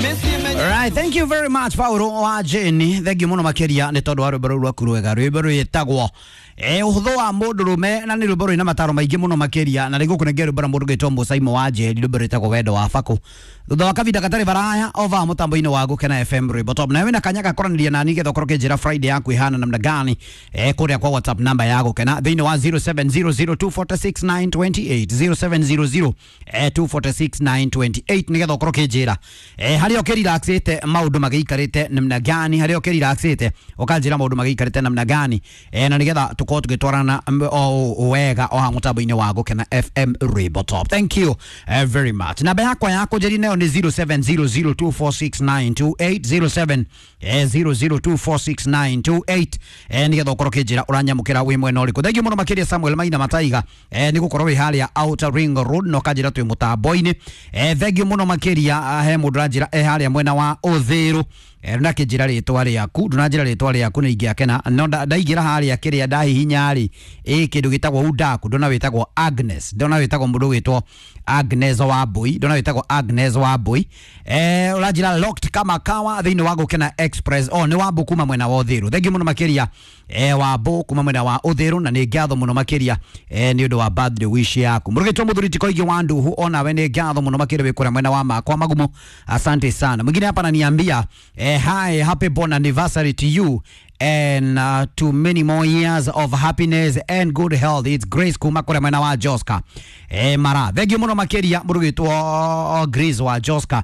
Right, thank you very much Paulo wa Jane. Thank you muno makiria ni tondu wa rwimbo rũu rwaku rwega. Rwimbo rwĩtagwo ũhũthũ wa mũndũrũme na nĩ rwimbo rwĩna mataro maingĩ mũno makĩria na nĩngũkũnengera rwimbo rwa mũndũ gwĩtwo Mũcaimo wa Njeri, rwimbo rwĩtagwo Wendo wa Bakũ. Thutha wa kavinda gatarĩ baraya ova mũtambo-inĩ wa Gũkena FM rwimbo top. Na wĩna kanya gakoranĩria nani getha ũkorwo ũkĩnjĩra Friday yaku ĩhana namna gani kũrĩa kwa WhatsApp namba ya Gũkena thĩinĩ wa 0700246928 0700 246928 nĩgetha ũkorwo ũkĩnjĩra harĩa ũkĩrelaxĩte maũndũ magĩikarĩte namna gani, harĩa ũkĩrelaxĩte ũkanjĩra maũndũ magĩikarĩte namna gani na nĩgetha tũkorwo tũgĩtwarana o wega o haha mũtambo-inĩ wa Gũkena FM Rwimbo Top. Thank you very much. Namba yakwa ya kũnjĩria nayo nĩ 0700246928 0700246928 nĩgetha ũkorwo ũkĩnjĩra ũranyamũkĩra wĩ mwena ũrĩkũ. Thank you mũno makĩria Samuel Maina Mataiga nĩ gũkorwo wĩ harĩa Outer Ring Road na ũkanjĩra twĩ mũtambo-inĩ. Thank you mũno makĩria he mũndũ ũranjĩra e harĩa mwena wa Ũthĩrũ ndunakĩnjĩra rĩtwa rĩaku, ndunanjĩra rĩtwa rĩaku nĩ ingĩakena no ndaingĩra harĩa kĩrĩa ndahihinya rĩ ĩ kĩndũ gĩtagwo udaku, ndona wĩtagwo Agnes, ndona wĩtagwo mũndũ wĩtwo Agnes wa Mbui, ndona wĩtagwo Agnes wa Mbui ũranjĩra locked kama kawa thĩinĩ wa Gũkena Express. Oh, nĩ Wambũ kuma mwena wa Ũthĩrũ. Thank you mũno makĩria Wambũ kuma mwena wa Ũthĩrũ na nĩ ngatho mũno makĩria nĩ ũndũ wa birthday wish yaku. Mũrũgĩtwo mũthuri ti Koigi wa Nduhu, onawe nĩ ngatho mũno makĩria wĩ kũrĩa mwena wa Makwa Magumo, asante sana. Mwingine hapa ananiambia hi, happy born anniversary to you and to many more years of happiness and good health. It's Grace kuma kũrĩa mwena wa Joska mara. Thank you mũno makĩria mũrũgĩtwo Grace wa Joska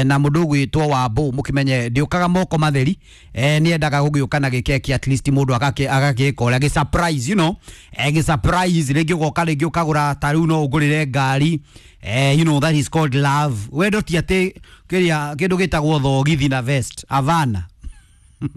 na mũndũ ũgwĩtwo Wambũ, mũkĩmenye ndĩũkaga moko matheri nĩendaga gũgĩũka na gĩkeki at least mũndũ agagĩka ũrĩa gĩ surprise, you know, gĩ surprise rĩngĩ ũgoka rĩngĩ ũkagũra ta rĩu no ũngũrĩre ngari you know that is called love. Wendo ti atĩ kĩrĩa kĩndũ gĩtagwo thogithi na vest avana.